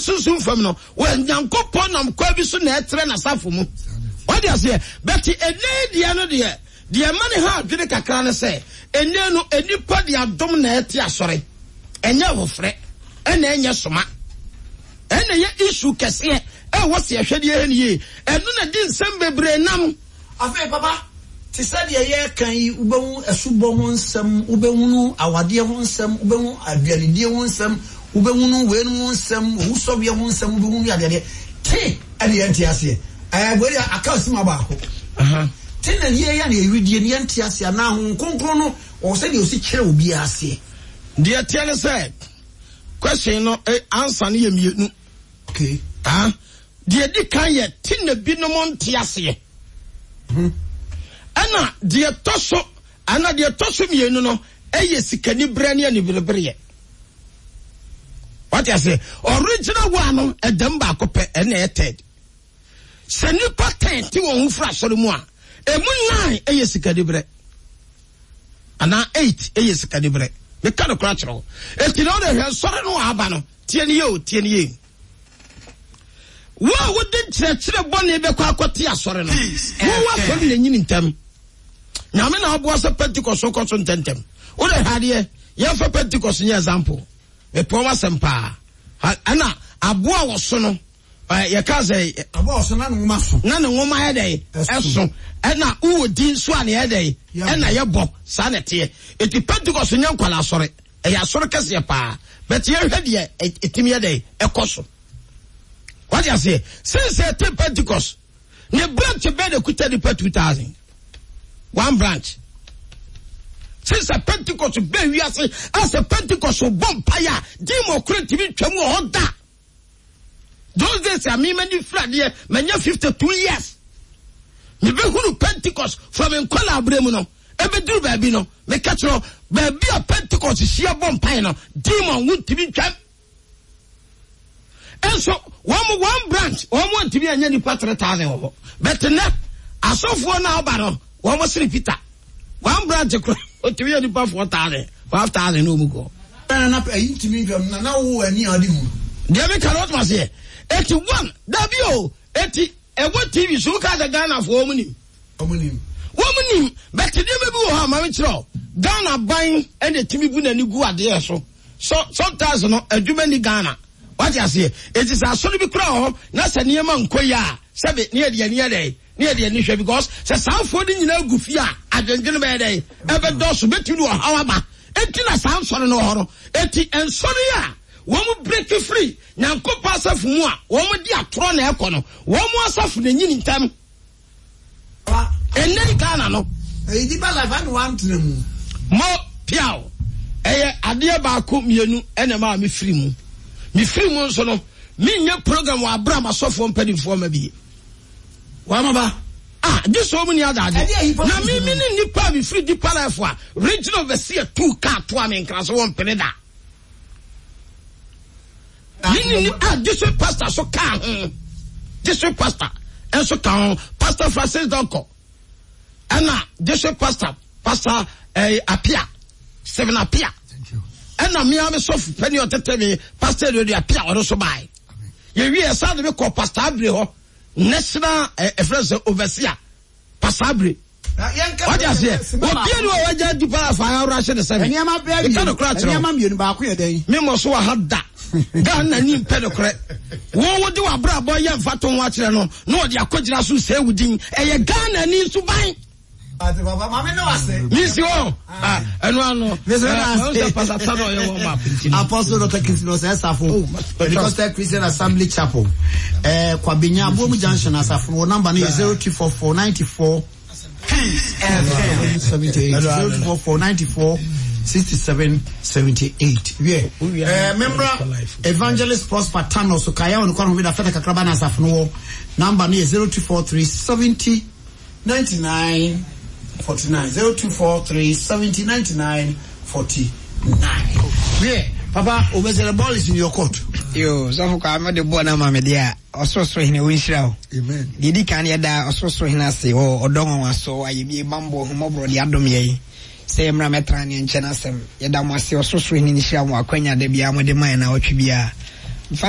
sunsum fam no, wɔ Nyankopɔn nam kwan bi so na ɛtrɛ n'asafo mu. Wate aseɛ? But ɛnɛ deɛ no deɛ, deɛ ɛma ne ha adwene kakra ne sɛ, ɛnɛ no, nnipa de adom na ɛte asɔre. Ɛnyɛ ahofrɛ, ɛna ɛnyɛ soma. Ɛna ɛyɛ issue kɛseɛ ɛwɔ sɛ yɛhwɛ deɛ ɛyɛ no yie. Ɛno na ɛde nsɛm bebree nam. Afei papa, te sɛ deɛ yɛreka yi, wobɛhu asubɔ ho nsɛm, wobɛhunu awadeɛ ho nsɛm, wobɛhu aduanedie ho nsɛm, wobɛhunu weinom ho nsɛm, owusɔreɛ ho nsɛm, wobɛhunu adeadeɛ. Te ɛne yɛnte aseɛ. Ɛɛ wei deɛ aka asima baako. Te na yɛyɛ na yɛredie no yɛnte aseɛ anaa Honhom Kronkron no ɔwɔ sɛdeɛ ɔsi kyerɛ obiara aseɛ. Deɛ ɛteɛ ne sɛ, question no eh, answer no yɛ mmienu. Okay. Ah, deɛ di kan yɛ te na binom nte aseɛ. Hmm. Ɛna deɛ tɔ so ɛna deɛ tɔ so mmienu no ɛyɛ sikaniberɛ ne aniberebereɛ. Wate aseɛ? Original one no ɛdɛm baako pɛ ɛna ɛyɛ third. Sɛ nipa ten te wɔn ho firi asɔre mu a, emu nine ɛyɛ sikaniberɛ. Anaa 8 yɛ sikaniberɛ. Meka nokorɛ akyerɛ wo. Enti na wode hwɛ nsɔre no a aba no, tie no yie o, tie no yie. Wo a wode nkyerɛkyerɛ bɔne bɛkɔ akɔte asɔre no, wo asɔre na ɛnyini ntɛm. Nyame na aboa sɛ Pentecost kɔ so ntɛntɛm. Wode hwɛ adeɛ, yɛmfa Pentecost nyɛ example. Mepɛ wɔn asɛm paa. Ɛna aboa a wɔso no, yɛka sɛ. Aboa ɔso na ne nwoma so. Na ne nwoma yɛ dɛ ɛso ɛna wowɔ din nso a ne yɛ dɛ ɛna yɛbɔ saa na ɛteɛ eti Pentecost nyɛ nkwala asɔre ɛyɛ asɔre kɛseɛ paa bɛte yɛhwɛ deɛ ɛtumi yɛ dɛ ɛkɔ so wate aseɛ since ɛte Pentecost ne branch bɛɛ na ɛkuta nipa 2000 one branch since Pentecost bɛɛ wiase asɛ Pentecost bɔ mpaeɛ a demon koro ntumi ntwam wɔ hɔ da. Those days a me m'ani firi adeɛ manya 52 years mebɛhunu Pentecost from nkwadaa berɛ mu no ɛbɛduru baabi no meka kyerɛ baabi a Pentecost hyia bɔ mpae no demon wontumi ntwam nso wɔn one branch wɔn antumi anya nipa 3000 wɔ hɔ bɛte nɛ asɔfoɔ no a ɔba no wɔn sere Peter One branch kora otumi yɛ nipa 4,000, 5,000 na ɔmu kɔ. Na na ɛyi ntumi ntwam na na wo ani a ɔde hu. Deɛ mi ka no ɔtuma seɛ eti one dabi o eti ɛwɔ TV so woka sɛ Ghana foɔ wɔn nim. Wɔn nim. Wɔn nim bɛte nneɛma bi wɔ hɔ a maame kyerɛ Ghana ban ɛna etimi bu n'ani gu adeɛ so so sometimes no adwuma ni Ghana wate aseɛ eti sɛ asɔre bi kura wɔ hɔ na sɛ nneɛma nkɔ yie a sɛbi ne yɛ deɛ ne yɛ dɛ. Ne yɛde ani hwɛ because sɛ saa afoɔ no nyinaa gu fie a adwendwene bɛyɛ dɛn ɛbɛdɔɔso bɛtumi de ɔhaw aba enti na saa nsɔre no wɔ hɔ no enti nsɔre a wɔn break free Nyankopɔn asafo mu a wɔn de atorɔ na ɛkɔ no wɔn asafo na enyini ntɛm ɛnɛ yi Ghana no. Ɛyi di ba life ɛna wantena mu. Mo piaw ɛyɛ adeɛ baako mmienu ɛna ɛma me firi mu me firi mu nso no menyɛ program wɔ abira ma sɔfoɔ mpanimfoɔ ma bie. Wama ba. Ah, gye sɛ wɔn ni adagye. Na me me ne nipa a mefiri Deeper Life a regional overseer tuu kaa toa me nkra so wɔn mpene da. Me ne ni ah district pastor so kaa ho. District pastor nso ka ho. Pastor Francis Donko. Ɛna district pastor pastor eh, Apia Stephen Apia. Ɛna mmea me sɔfo panyin ɔtete me pastor Edward Apia ɔno nso bae. Yɛwie ɛsan de me kɔ Pastor Abire hɔ, national ɛfrɛ sɛ overseer, Pastor Abire. Wate aseɛ, obia ni wɔ wagya di paa fa awura ahyɛ ne sɛ me. Meka no kora kyerɛ wo. Mmienu baako yɛ dɛn? Me mmɔ so wɔ ha da. Ghana ni mpɛ no korɛ. Wo wo de w'abrabɔ yɛ mfa to ho akyerɛ no na ɔde akɔgyina so sɛ wo din. Ɛyɛ Ghana ni nso ban. Misi hɔ ɛnu ano Apostle Dr. Kingston Osei Safo, Pentecostal Christian Assembly Chapel, eh, Kwabenya Abomu Junction Asafo. Wɔ number no yɛ 0244 94 78 0244 94 67 78. Wiɛ, eh, membra Evangelist Prosper Tano so kaya wɔn kwan ho bi da fɛtɛ kakraba na asafo no wɔ number no yɛ 0243 70 99 49 0243 70 99 49. Wiɛ, papa, obese the ball is in your court. Yo, sɔfo kwa mo de bɔɔl no ama me deɛ a, ɔsorosoro hene ɔnhyira wo. Amen. Deɛ ɛdi kan yɛda ɔsorosoro hene ase wɔ ɔdɔ nwanwaso, ayɛmie, bammɔ, ahummɔborɔ de adom yɛn sɛ yɛmmra mmɛtena ne nkyɛn asɛm. Yɛda mo ase, ɔsorosoro hene nhyira mo akwanya da biara mode ma yɛn naawɔtwe biara.